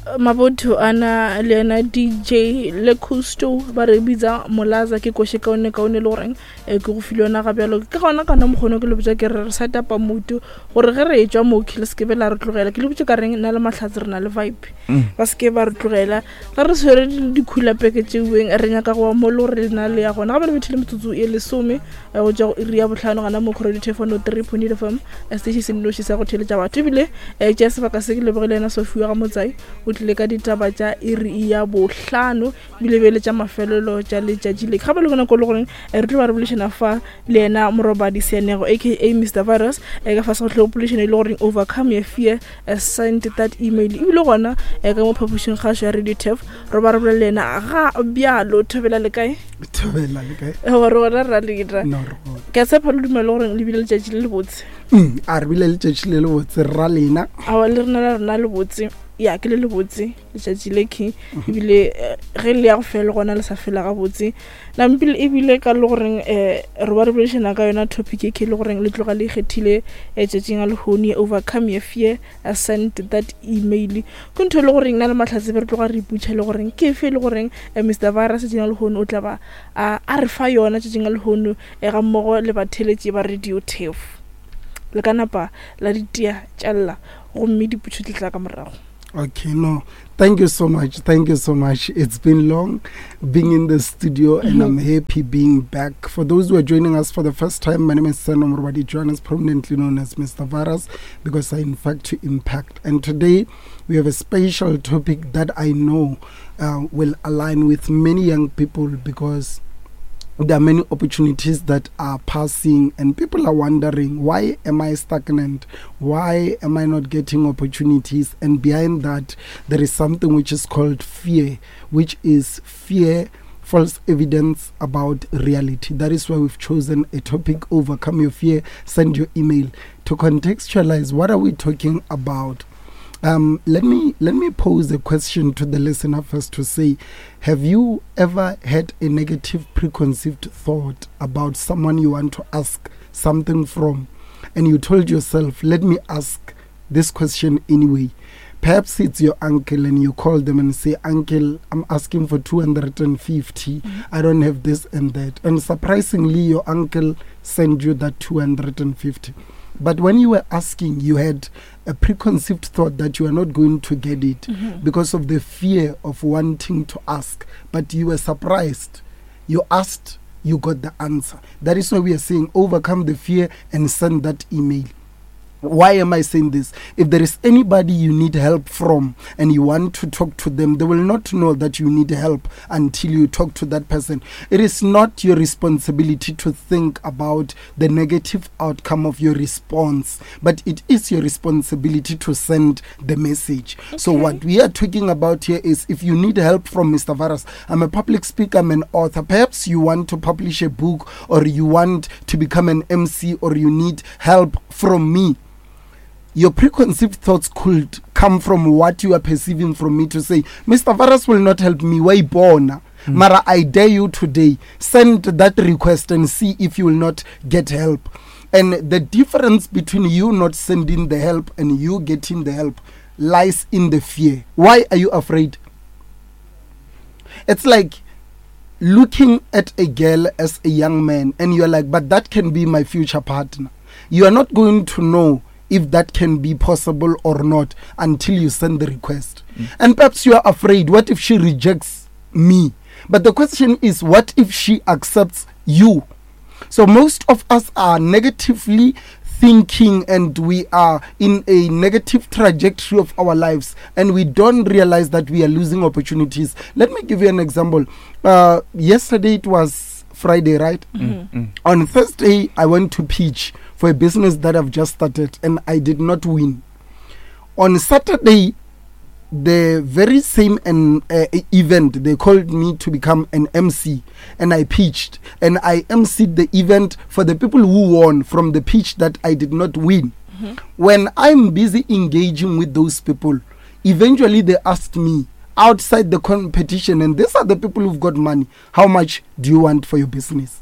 Mabotho a na le yena DJ le Custo ba re bitsa Molaza ke koše kaone kaone le goreng eh, ke go file yona ga bjalo ke gona kana mokgono ke le botša ke re re set upa moto gore ge re etšwa mo le se ke be la re tlogela ke le botše ka reng nna le mahlatse re na le vibe mm. ba se ke ba re tlogela ge re tshwere dikhula peke tšeueng re nyaka go wa mo le gore le na le ya gona ga ba le bethile metsotso e lesome eh, go tšwa go iri ya botlhano gana mo kgoredi telefono three point eight fm eh, station se nnoši sa go theletša batho ebile um tšea sebaka se ke lebogile yena sofiwa ga motsai o tlile ka ditaba tša iri ya bohlano ebile bele tša mafelelo tša letšatši le gape le bona ko le goreng re tlo ba re bolešana fa le yena morobadi seanego aka mr virus ka fase go tlhogo polešano e le goreng overcome your fear send that email ebile gona ka mo phapošing kgašo ya radio tef re ba re bolela le yena ga bjalo thobela le kae thobela le kae gore gona ra leta ke a tshepa le dumela gore le bile letšatši le lebotse mm, a re bile letšatši le lebotse rra lena awa le rena la rena lebotse ya ke le lebotse letšatši le ke mhm. ebile eh, ge le ya go fela gona le sa fela gabotse nampile ebile ka le goreng um re ba re boledišana ka yona topic e ke le goreng le tloga le ikgethile eh, tšatšing a lehono overcome your fear send that email ke ntho e le goreng na le mahlatse be re tloga re iputšha le goreng ke efe e le goreng eh, mr virus tšatšing la lehono o tla ba a re fa yona tšatšing la lehono eh, ga mmogo le batheletši ba radio tef le ka napa la ditia tšalla gomme diputšho di tla ka morago Okay, no, thank you so much. Thank you so much. It's been long being in the studio and I'm happy being back. For those who are joining us for the first time, my name is Seno Morwadi Johannes, prominently known as Mr. Varas, because I in fact to impact. And today we have a special topic that I know uh, will align with many young people because there are many opportunities that are passing and people are wondering why am i stagnant why am i not getting opportunities and behind that there is something which is called fear which is fear false evidence about reality that is why we've chosen a topic overcome your fear send your email to contextualize what are we talking about um, let me let me pose a question to the listener first to say, have you ever had a negative preconceived thought about someone you want to ask something from, and you told yourself, let me ask this question anyway? Perhaps it's your uncle, and you call them and say, Uncle, I'm asking for 250. Mm-hmm. I don't have this and that. And surprisingly, your uncle sent you that 250. But when you were asking, you had a preconceived thought that you are not going to get it mm-hmm. because of the fear of wanting to ask. But you were surprised. You asked, you got the answer. That is why we are saying overcome the fear and send that email. Why am I saying this? If there is anybody you need help from and you want to talk to them, they will not know that you need help until you talk to that person. It is not your responsibility to think about the negative outcome of your response, but it is your responsibility to send the message. Okay. So, what we are talking about here is if you need help from Mr. Varas, I'm a public speaker, I'm an author. Perhaps you want to publish a book or you want to become an MC or you need help from me your preconceived thoughts could come from what you are perceiving from me to say, Mr. Varas will not help me. Why born? Mm. Mara, I dare you today, send that request and see if you will not get help. And the difference between you not sending the help and you getting the help lies in the fear. Why are you afraid? It's like looking at a girl as a young man and you're like, but that can be my future partner. You are not going to know if that can be possible or not until you send the request. Mm. And perhaps you are afraid, what if she rejects me? But the question is, what if she accepts you? So most of us are negatively thinking and we are in a negative trajectory of our lives and we don't realize that we are losing opportunities. Let me give you an example. Uh, yesterday it was Friday, right? Mm-hmm. Mm. On Thursday, I went to pitch for a business that I've just started and I did not win. On Saturday, the very same an, uh, event, they called me to become an MC and I pitched and I emceed the event for the people who won from the pitch that I did not win. Mm-hmm. When I'm busy engaging with those people, eventually they asked me outside the competition, and these are the people who've got money, how much do you want for your business?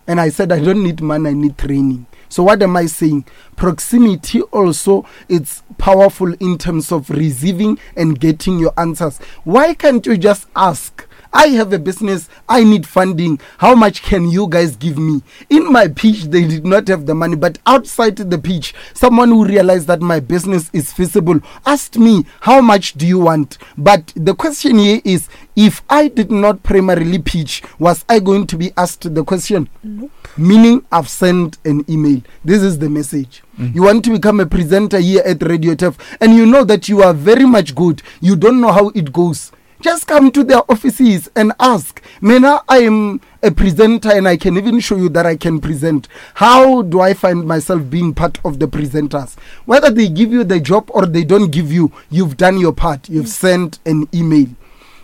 And I said, I don't need money, I need training. So what am I saying? Proximity also, it's powerful in terms of receiving and getting your answers. Why can't you just ask? I have a business, I need funding. How much can you guys give me? In my pitch, they did not have the money, but outside the pitch, someone who realized that my business is feasible asked me, How much do you want? But the question here is, if I did not primarily pitch, was I going to be asked the question? Nope. Meaning, I've sent an email. This is the message. Mm. You want to become a presenter here at Radio Turf, and you know that you are very much good. You don't know how it goes. Just come to their offices and ask. Mena, I am a presenter and I can even show you that I can present. How do I find myself being part of the presenters? Whether they give you the job or they don't give you, you've done your part. You've mm. sent an email.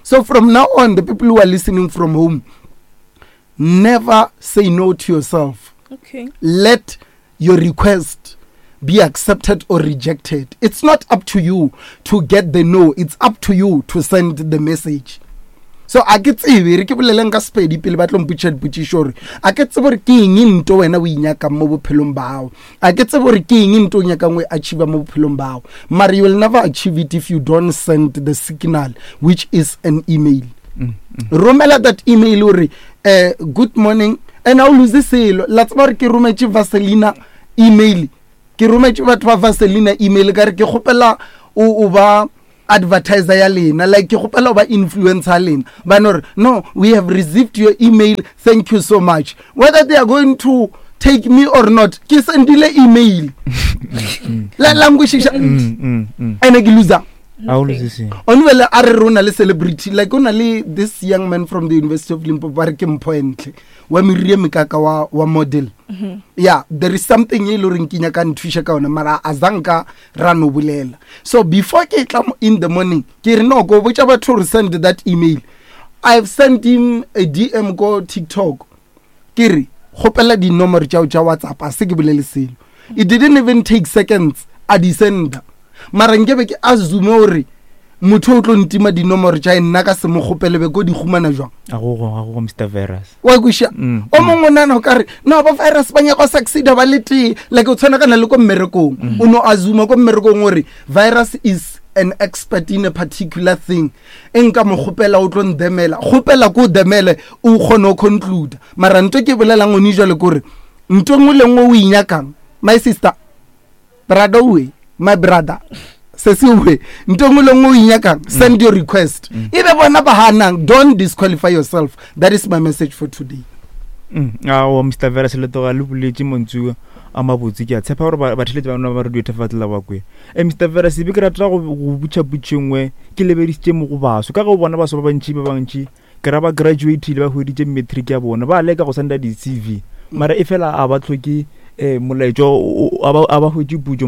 So from now on, the people who are listening from home, never say no to yourself. Okay. Let your request be accepted or rejected. It's not up to you to get the no, it's up to you to send the message. So a ke tsebe re ke boleleng ka sepedi pele ba tlo mpotša dipotšišo gore a ke tsebe gore ke eng nto wena o inyakang mo bophelong bao a ke tsebe gore ke eng nto o nyakang o e achieve mo bophelong bao mare you will never achieve it if you don't send the signal which is an email mm, mm. romela that email gore uh, good morning and a o lose selo la tseba gore ke rometše vaselina email ke rometše batho ba vaselina email ka re ke kgopela o ba advertiser ya lena like ke kgopela o ba influencer ya lena ba no re no we have received your email thank you so much whether they are going to take me or not ke sendile email la la nkwešiša mm, mm, mm. ene ke loser onwele a re re o na le celebrity like o na le this young man from the university of limpopo ba re ke mpho entle wa meriri e mekaka wa, wa model mm -hmm. yeah there is something e le goreng ke nyaka nthuša ka yone mara a zanka ra no bolela so before ke tla in the morning ke re no ko botša batho gore send that email i've sent him a dm ko tiktok ke re kgopela dinomoro tšao tša whatsapp a se ke bolele selo it didn't even take seconds a di senda mara nkebe ke assume gore motho o tlo ntima dinomoro tša nna ka se mo kgopele be ko di humana jwang agogo mr virus wa kweša mm, o mm. mongwe o nana o ka re no ba virus ba nyaka go succeeda ba le tee like o tshwanakana le ko mmerekong mm. o no assume ko mmerekong gore virus is an expert in a particular thing e nka mo kgopela o tlo ndemela kgopela ko o demele o kgone o conclude mara nto ke bolelang one jale kore nto nngwe le nngwe o inyakang my sister brother owe my brother sesi owe nto nngwe le nngwe o inyakang mm. send your request mm. e be bona ba hanang don't disqualify yourself that is my message for today mm. ao mr vera seletoga le boletše montsu a mabotse ke a tshepa gore batheletši ba nna ba radio thefatlela ba kwe e mr vera sebe ke rata go butšha putšo nngwe ke lebedisitše mo go baso ka ge o bona baso ba bantši ba bantši ke ra ba graduatile ba hweditše matric ya bona ba leka go senda di-cv mara e fela a ba tlhoke um molaetšo a ba hwetše putso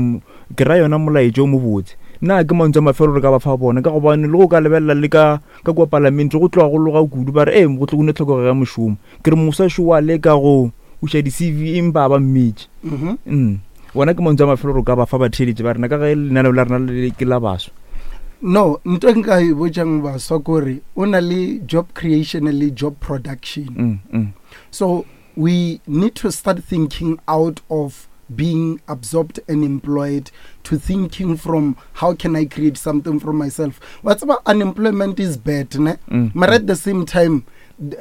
ke ra yona molaetšo o mobotse nna ke mantso a mafelo re ka ba fa bona ka gobane le go ka lebelela le ka ka kua palamente go tloga go loga kudu ba re ee go tlo kone tlhokego ya mošomo ke re mosa šo wa leka go uša di-cv empa a ba mmetše mm-hmm. mm. Wona ke mantšu a mafelo re ka ba fa batheeletši ba rena ka ge lenaneo la rena le ke la baswa. No, nto e nka e botšang baswa kore o na le job creation le job production. Mm, mm. So we need to start thinking out of being absorbed and employed to thinking from how can I create something for myself. What's about unemployment is bad, ne? Mm. But at the same time,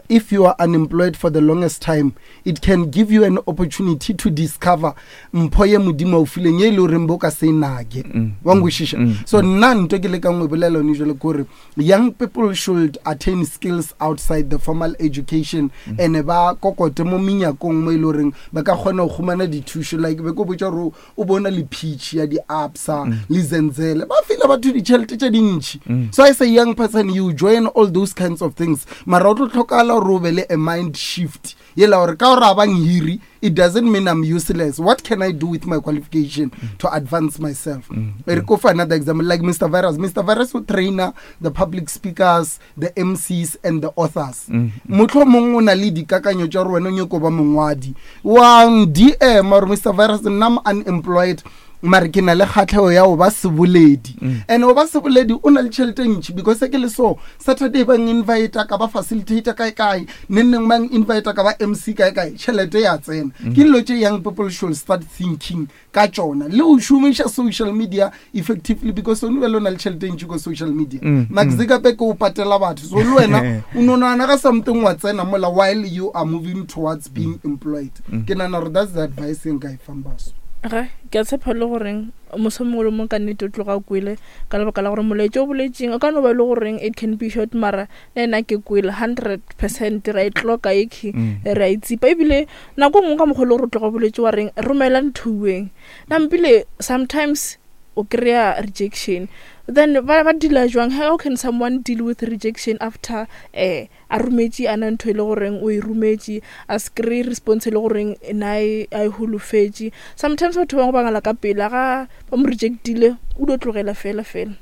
if you are unemployed for the longest time, it can give you an opportunity to discover mpho ye modimo o fileng ye e le goreng bo ka se nage mm, wa nkwešiša mm, so mm. nna nto ke lekang go e bolela one jale kore young people should attain skills outside the formal education mm. and ba kokote mo menyakong mo e le goreng ba ka kgona go humana dithušo like be ko botša gore o bona le peach ya di-absa mm. le zenzele ba file batho ditšhelete tše dintšhi mm. so as a young person you join all those kinds of things mara o tlo tlhokala gore o be le a mind shift yela gore ka gore a bang hiri it doesn't mean i'm useless what can i do with my qualification mm. to advance myself mm. re ko for another example like mr virus mr virus o trainer the public speakers the mcs and the authors mm. motlho mongwe o na le dikakanyo tša gore wena o nyako ba mongwadi wa dm or mr virus nna i'm unemployed Mare ke na le kgatlhego ya go ba seboledi. And go ba seboledi o na le tšhelete e ntši, because ke le so Saturday ba invite ka ba facilitator kae kae, neng neng ba invite ka ba MC kae kae, tšhelete ya tsena. Ke dilo tše young people should start thinking ka tšona, le go šomiša social media effectively, because o bjale o na le tšhelete e ntši ko social media. Mark Zuckerberg o patela batho, so le wena o no nagana ka something wa tsena mola while you are moving towards being employed. Ke nagana gore that's the advice e nka e fang baswa. Ge ke a tshepa le goreng moso mongwe le mongwe ka nnete o tloga kwele, ka lebaka la gore molaetša o boletseng o ka no ba e le goreng it can be short, mara le nna ke kwele 100%. Ra e tloka ekhi, re a e tsipa. Ebile nako nngwe ka mokgwa le gore o tloga boletse wa reng romela nthuweng nampile, sometimes o kry-a rejection, then ba deala jwang? How can someone deal with rejection after a rometše ana ntho e le goreng o e rometše, a se kry response e le goreng na e a e holofetše? Sometimes batho ba bangwe ba ngala ka pela ga ba mo rejectile, o dio tlogela fela fela.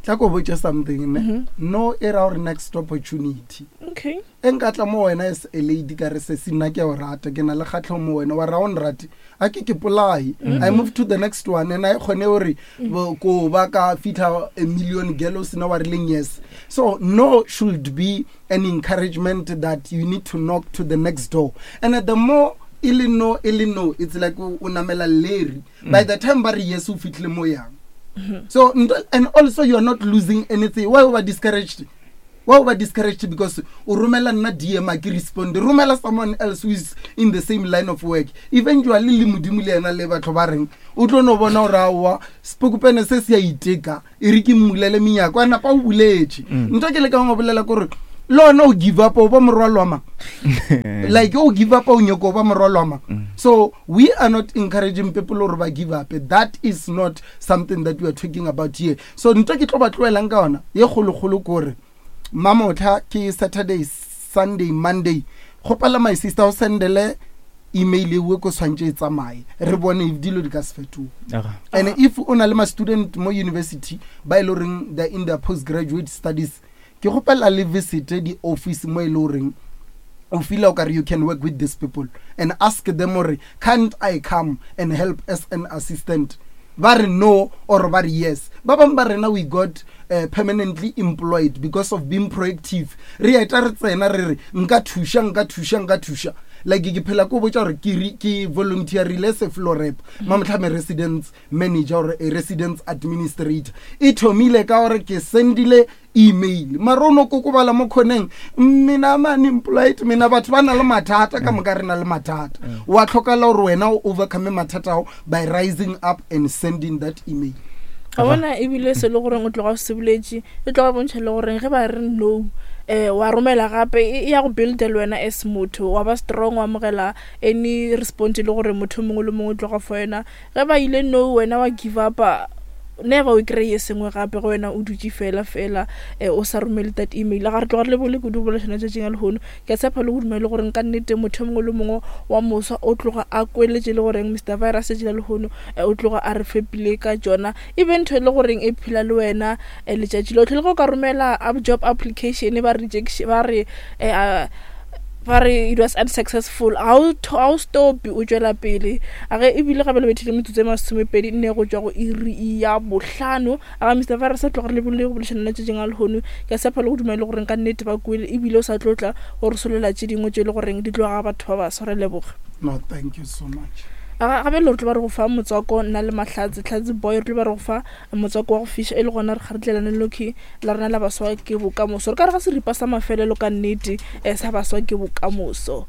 Tla ko botša something ne. No e ra gore next opportunity. E nka tla mo wena as a lady ka re, sesi, nna ke a o rata, ke na le kgatlhego mo wena, wa ra o nrate, a ke ke polae. I move to the next one, and a e kgone gore ko ba ka fitlha a million girl o sena wa rileng yes. So no should be an encouragement that you need to knock to the next door, and the more e le no, e le no, it's like o namela leri. By the time ba re yes, o fitlhile mo yang. So and also you are not losing anything. Why o ba discouraged? Why o ba discouraged because o romela nna DM, a ke respond? Romela someone else who is in the same line of work. Eventually le Modimo le ena le batho ba reng o tlo no bona gore aowa, sepokopene se se a iteka, e re ke mmulele menyako, a napa o buletše. Ntho ke lekang go bolela kore le ona o give up, o ba morwalo wa mang? Like o give up, o nyoko o ba morwalo wa mang? So we are not encouraging people gore ba give up. That is not something that we are talking about here. So ntho ke tlo ba tloelang ka yona ye kgolokgolo kore mamotlha ke Saturday, Sunday, Monday, kgopela my sister o sendele email ewe ko tshwantse e tsamaye, re bone if dilo di ka se fetoge. And if o na le ma-student mo university ba e le goreng they're in their postgraduate studies, ke kgopela le visite di-office mo e le goreng o feel o kare you can work with these people, and ask them gore, can't I come and help as an assistant? Ba re no or ba re yes. Ba bangwe ba rena, we got permanently employed because of being proactive. Re eta re tsena re re nka thuša, nka thuša, nka thuša. Like ke phela ko botša gore ke volunteerile se floor rep mamotlhame residence manager or a residence administrator. E thomile ka gore ke sendile email, mara o no kokobala mo kgoneng, mina I'm unemployed, mina batho ba na le mathata ka moka, re na le mathata. Wa tlhokala gore wena o overcome mathata ao by rising up and sending that email. Ga bona ebile se le goreng o tloga o se boletše, e tloga bontšha le goreng ge ba re no, wa romela gape, e ya go builda le wena as motho, wa ba strong, wa amogela any response e le gore motho o mongwe le mongwe o tloga for wena. Ge ba ile no, wena wa give up, never o kry-e sengwe gape go wena, o dutše fela fela, o sa romele that email. Ga re tloga re lebole kudu bolešana tšatšing a lehono. Ke a tshepa le go dumela le goreng ka nnete motho o mongwe le mongwe wa moswa o tloga a kweletše le goreng Mr Virus tšatši la lehono, o tloga a re fepile ka tšona. E be ntho e le goreng e phela le wena letšatši lotlhe. Le ge o ka romela job application, ba rejection, ba re ba re it was unsuccessful, ga o stop, o tšwela pele. A ge ebile gape le bethile metsotso e 24 go tšwa go iri ya 5. A ga Mr Virus a tloga re lebole go bolešana le tšatšing a lehono. Ke a tshepa le go dumela le goreng ka nnete ba kwele, ebile o sa tlotla gore solela tše dingwe tše e le goreng di tloga batho ba baswa. Re leboga. No, thank you so much. A gape le re tlo ba re go fa motswako, nna le Mahlatse Tlhatse Boy, re tlo ba re go fa motswako wa go fiša, e le gona re kgaretlelane loki la rena la baswa ke bokamoso. Re ka re ga seripa sa mafelelo ka nnete, sa baswa ke bokamoso.